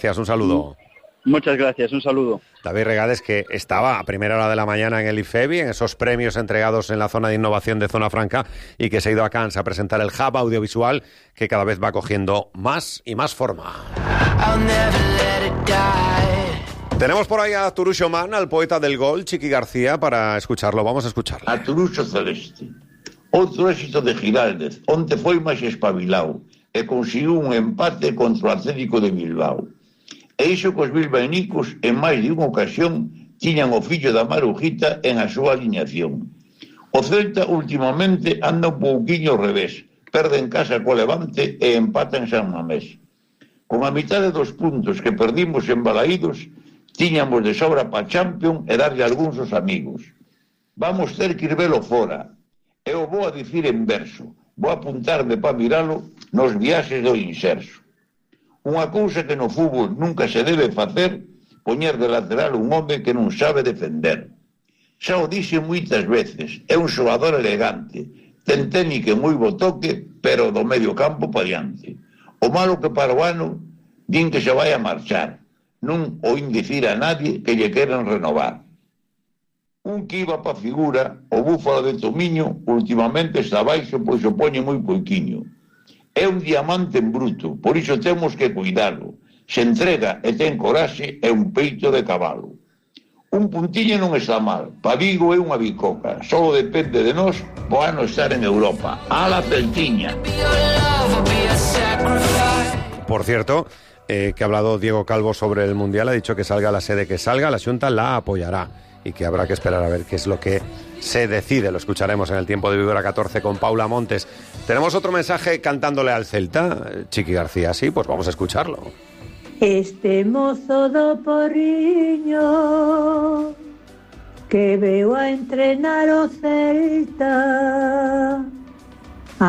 Gracias, un saludo. Muchas gracias, un saludo. David Regades, que estaba a primera hora de la mañana en el IFEBI, en esos premios entregados en la zona de innovación de Zona Franca, y que se ha ido a Cannes a presentar el hub audiovisual que cada vez va cogiendo más y más forma. Tenemos por ahí a Turuxo Man, al poeta del gol, Chiqui García, para escucharlo. Vamos a escucharlo. A Turuxo Celeste. Outro éxito de Giraldez, onte foi máis espabilado e conseguiu un empate contra o Atlético de Bilbao. E iso que os bilbaínicos, en máis de unha ocasión, tiñan o fillo da Marujita en a súa aliñación. O Celta últimamente anda un pouquiño ao revés, perde en casa co Levante e empata en San Mamés. Con a mitade dos puntos que perdimos en Balaídos, tiñamos de sobra pa Champions e darlle algúns aos amigos. Vamos ter que ir velo fora. Eu vou a dicir en verso, vou apuntarme para miralo nos viaxes do inserso. Unha cousa que no fútbol nunca se debe facer, poñer de lateral un home que non sabe defender. Xa o dixe moitas veces, é un xogador elegante, ten técnica e moi bo toque, pero do medio campo pa diante. O malo que para o ano, din que se vai a marchar, non oín dicir a nadie que lle queren renovar. Un que iba pa figura, o búfalo de Tomiño, últimamente está baixo, pois o poñe moi poiquiño. É un diamante en bruto, por iso temos que cuidalo. Se entrega e ten coraxe, é un peito de cabalo. Un puntiño non está mal, pa Vigo é unha bicoca, só depende de nós o ano estar en Europa. A la Celtiña. Por cierto, que ha hablado Diego Calvo sobre el Mundial, ha dicho que salga la sede que salga, la Xunta la apoyará y que habrá que esperar a ver qué es lo que se decide. Lo escucharemos en el tiempo de Vivora 14 con Paula Montes. Tenemos otro mensaje cantándole al Celta, Chiqui García, sí, pues vamos a escucharlo. Este mozo do Porriño que veo a entrenar o Celta